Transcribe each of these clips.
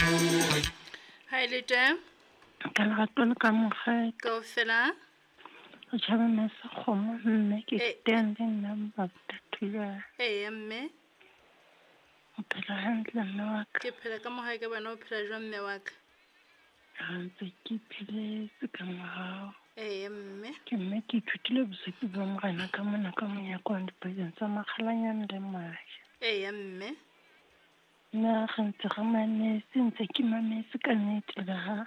Ha e le teng. Ka lerato le ka mokgwa. Kaofela. O tjhaba masa kgomo mme ke Eh. teng le nna Mmabuta Thulare. Eya mme. O phela hantle mme wa ka. Ke phela ka mohae ka bana o phela jwang mme wa ka? Ha ntse ke pheletse ka morao. Eya mme. Ke mme ke ithutile bosupi ba morena ka mona ka monyako wa dipakeng tsa makgalanyane le maje. Eya mme. Nna re ntse re mametse ntse ke mametse ka nnete le ha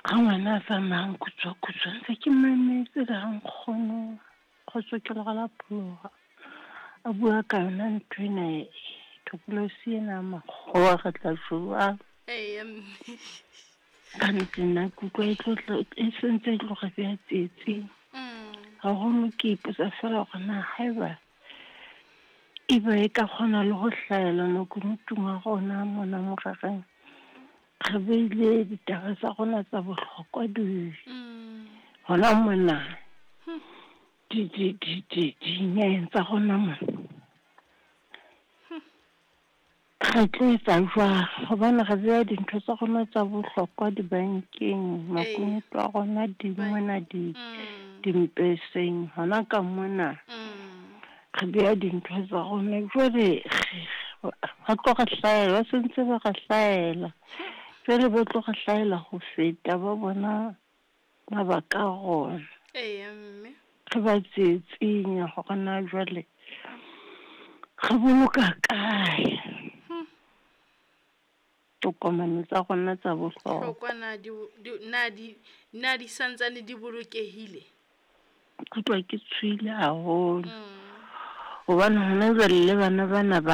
ha ngwana a tsamayang kutswa kutswa ntse ke mametse le ha nkgono kgotso ke lora la pholoha a bua ka yona ntho ena e thokolosi ena ya makgowa re tla jwang. Eya mme. Ka nnete nna ke utlwa e tlo e sentse e tlo re beha tsietsing. Haholo ke ipotsa fela hore na haeba ebe e ka kgona le ho hlahela makunutung a rona mona morereng. Re beile ditaba tsa rona tsa bohlokwa di hona mona di di di di dinyeng tsa rona mona. Re tlo etsa jwang? Hobane re beha dintho tsa rona tsa bohlokwa dibankeng, makunutu a rona di mona di dimpeseng hona ka mona. Re beha dintho tsa rona jwale ba tlo re hlahela, ba sentse ba re hlahela. Jwale ba tlo re hlahela ho feta ba bona mabaka a rona. Eya mme. Re ba tsietsing ya hore na jwale re boloka kae tokomane tsa rona tsa bohlokwa. Hlokwa na di na di na di santsane di bolokehile? Ke utlwa ke tshohile haholo. Hobane hona jwale le bana bana ba.